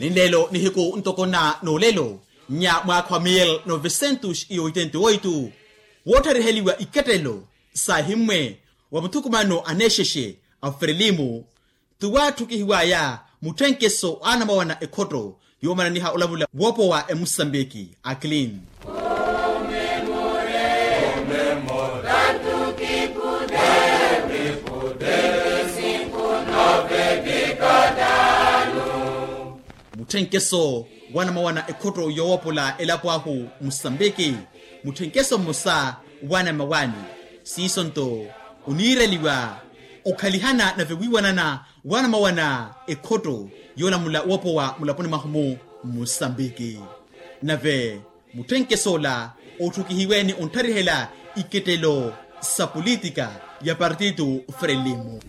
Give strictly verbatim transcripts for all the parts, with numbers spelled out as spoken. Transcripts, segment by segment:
Ni lelo nihiku ntoko na n'olelo nya mwaakha wa mil novecentos e oitenta e oito, woothariheliwa ikettelo saahimmwe wa muthukumano a neexexe a frelimo, tuwaatthukihiwaya mutthenkeso anamawana ekhotto yoomananiha olavula woopowa emusambiki a clean. Mutthenkeso wanamawana ekhotto yoowopula elapo ahu musambiki, mutthenkeso mmosa wanamawaani. Siiso nto oniireliwa okhalihana nave wiiwanana wanamawana ekhotto yoolamula woopowa mulaponi mwahu-mu musambiki. Nave mutthenkeso ola otthukihiwe ni ontharihela ikettelo sa politika ya partitu frelimo.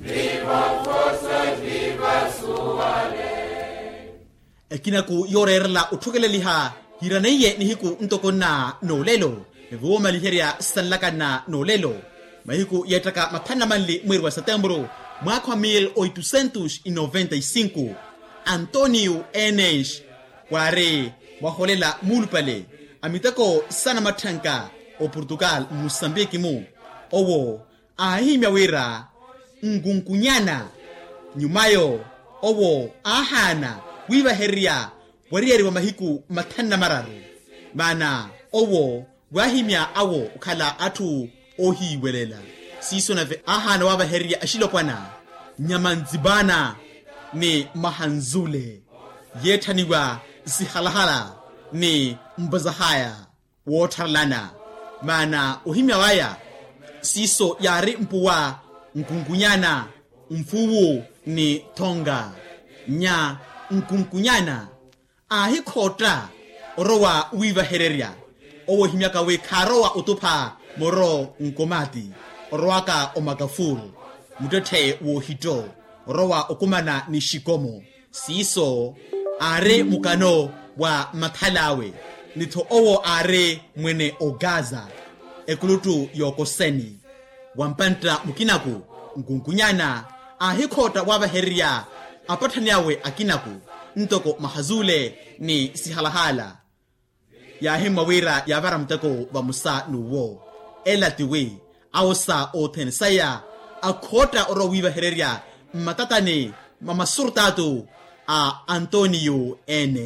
Ekinaku yooreerela otthukeleliha hiraneiye nihiku ntoko na n'olelo, nave woomaliherya sanlakana n'olelo mahiku yeettaka mathanu na manli mweeri wa setemburu mwaakha wa mil oitocentos e noventa e cinco, antonio enes waari mwaholela muulupale a miteko sanamatthanka oportugal mmusambiki-mu. Owo aahihimya wira nkunkunyana nyumayo owo aahaana wiivahererya wariyari wa mahiku mathanu na mararu. Maana owo waahimya awo okhala atthu oohiiwelela. Siiso nave aahaana waapahererya axilopwana nyama nzipana ni mahanzule yeetthaniwa sihalahala ni mpazahaya woottharalana. Maana ohimya waya siiso yaari mpuwa nkunkunyana mfuwu ni thonga nya nkunkunyana aahikhootta orowa wiivahererya. Owo ohimyaka wi khaarowa otupha moro nkomati orowaka omakafuru muttetthe woohitto orowa okumana ni xikomo. Siiso aari mukano wa mathal'awe ni-tho owo aari mwene ogaza ekuluttu y'okoseni. Wa mpantta mukinaku nkunkunyana aahikhootta waavahererya apatthani awe akinaku ntoko mahazule ni sihalahala. Yaahimmwa wira yaavara muteko vamosa n'uwo. Ela tiwi awo sa othene saya akhootta orowa wiivahererya mmatatani ma masurtaatu a antonio ene.